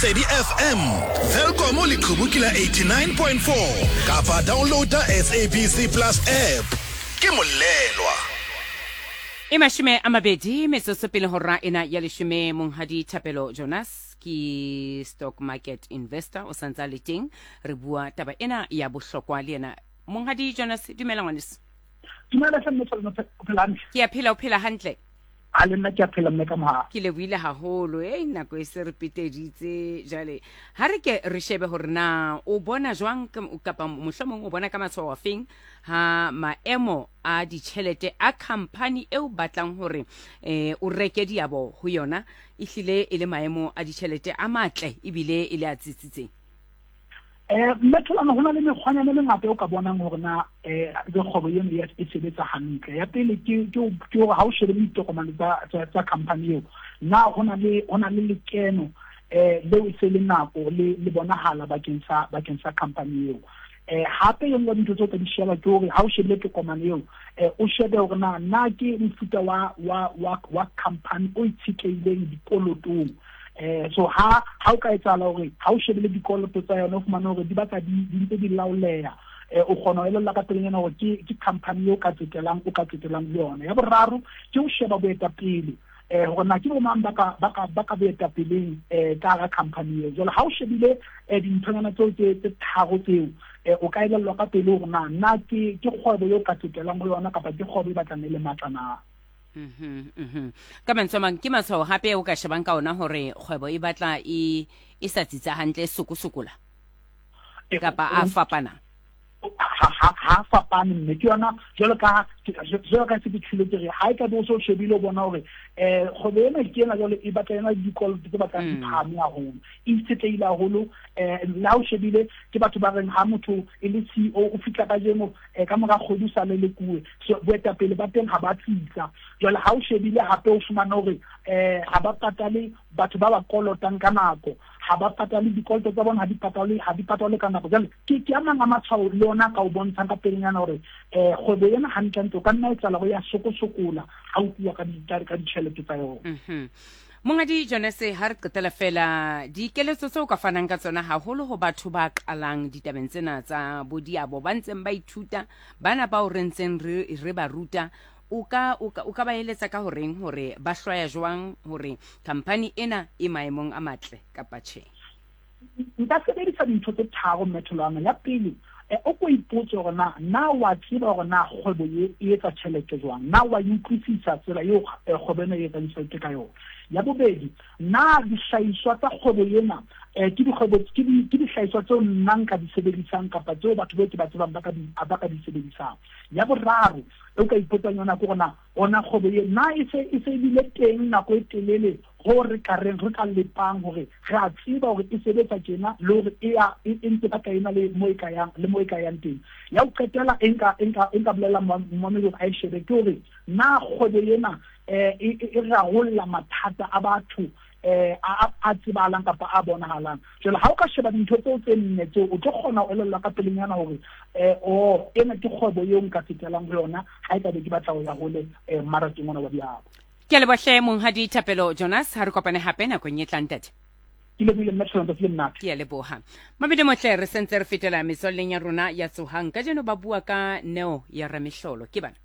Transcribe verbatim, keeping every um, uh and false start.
Lesedi F M, Welkom leqhubu ke la eighty-nine point four kapa downloada S A B C Plus app. Ke molelwa. E mashome a mabedi metsotso pele hora ena ya leshome. Monghadi Thapelo Jonas ke stock market investor, o santsa le teng, re bua taba ena ya bohlokwa le yena. Monghadi Jonas, dumela ngwaneso. Dumela hle mme Tholwana, o phela hantle? Ke a phela, o phela hantle? A le nna ke a phela mme ka moha. Ke lebohile haholo, eh nako e se re peteditse jwale. Ha re ke re shebe hore na o bona jwang kapa mohlomong o bona ka matshwao a feng ha maemo a ditjhelete a company eo batlang hore eh o reke diabo ho yona ehlile e le maemo a ditjhelete a matle ebile e le a tsitsitseng. Eh mme Tholwana, ho na le mekgwanyana e mengata eo ka bonang hore na eh kgwebo eno e sebetsa hantle. Ya pele ke ke ke hore ha o shebile ditokomane tsa tsa tsa company eo, na ho na le ho na le lekeno eh leo e se le nako le le bonahala bakeng sa bakeng sa company eo. Eh hape e nngwe dintho tseo ka di sheba ke hore ha o shebile tokomane eo, eh o shebe hore na na ke mofuta wa wa wa wa company o itshetlehileng dikolotong. Eh so ha ha o ka etsahala hore ha o shebile dikoloto tsa yona o fumane hore di batla di di ntse di laoleha, eh o kgona ho elella ka pelenyana hore ke ke company eo ka tsetelang o ka tsetelang le yona. Ya boraro ke ho sheba boetapele, eh hore na ke bo mang ba ka ba ka ba ka boetapeleng eh ka hara company eo. Jwale ha o shebile eh dinthonyana tseo tse tse tharo tseo, eh o ka elellwa ka pele hore na na ke ke kgwebo eo ka tsetelang ho yona kapa ke kgwebo e batlang e le matla na. Mhm, mhm. Ka mantswe a mang ke matshwao hape o ka shebang ka ona hore kgwebo e batla e e sa tsitsa hantle, e sokosokola kapa a fapana. Ha ha ha fapane mme ke yona jwalo ka jwalo ka se ke tshwile ke re ha e ka be o so shebile o bona hore eh kgwebo ena ke ena jwale e batla ena dikoloto tse batlang di phahame haholo, e itshetlehile haholo. Eh le ha o shebile ke batho ba reng ha motho e le C E O o fihla kajeno eh ka mora kgwedi o sa le lekuwe, so boetapele ba teng ha ba tsitsa. Jwale ha o shebile hape o fumana hore eh ha ba patale batho ba ba kolotang ka nako, ha ba patale dikoloto tsa bona, ha di patalwe ha di patalwe ka nako. Jwale ke ke a mang a matshwao le ona ka o bontshang ka pelenyana hore eh kgwebo ena hantlentle o ka nna etsahala hore ya sokosokola ha o tluwa ka di ka ditjhelete tsa yona. Mhm. Monghadi Jonas, ha re qetela fela dikeletso tseo ka fanang ka tsona haholo ho batho ba qalang ditabeng tsena tsa bodiabo, ba ntseng ba ithuta, bana bao re ntseng re re ba ruta, o ka o ka o ka ba eletsa ka horeng hore ba hlwaya jwang hore company ena e maemong a matle kapa tjhe? Nka sebedisa dintho tse tharo mme Tholwana. Ya pele, eh o ko ipotse hore na na wa tseba hore na kgwebo e e etsa tjhelete jwang, na wa e utlwisisa tsela eo kgwebo ena e etsang tjhelete ka yona. Ya bobedi, na dihlahiswa tsa kgwebo ena eh ke dikgwebo ke di ke dihlahiswa tseo nna nka di sebedisang kapa tseo batho bao ke ba tsebang ba ka di ba ka di sebedisang. Ya boraro o ka ipotsang yona ke hore na ona kgwebo e na e se e se bile teng nako e telele ho re ka reng re ka lepang hore re a tseba hore e sebetsa tjena le hore e ya e ntse ba ka ena le mo e ka yang le mo e ka yang teng. Ya ho qetela e nka e nka e nka bolella momamedi hore a e shebe ke hore na kgwebo ena eh e e rarolla mathata a batho eh a a tsebahalang kapa a bonahalang. Jwale ha o ka sheba dintho tseo tse nne tseo o tlo kgona ho elellwa ka pelenyana hore eh o ena ke kgwebo eo nka tsetelang ho yona ha e ka be ke batla ho ya hole eh mmarakeng ona wa diabo. Ke a leboha hle Monghadi Thapelo Jonas, ha re kopane hape nakong e tlang ntate. Ke lebohile mme Tholwana, tsatsi le monate. Ke a leboha. Mabedi motle, re sentse re fetela metswalleng ya rona ya Tsohang. Kajeno ba bua ka neo ya ramehlolo. Ke bana.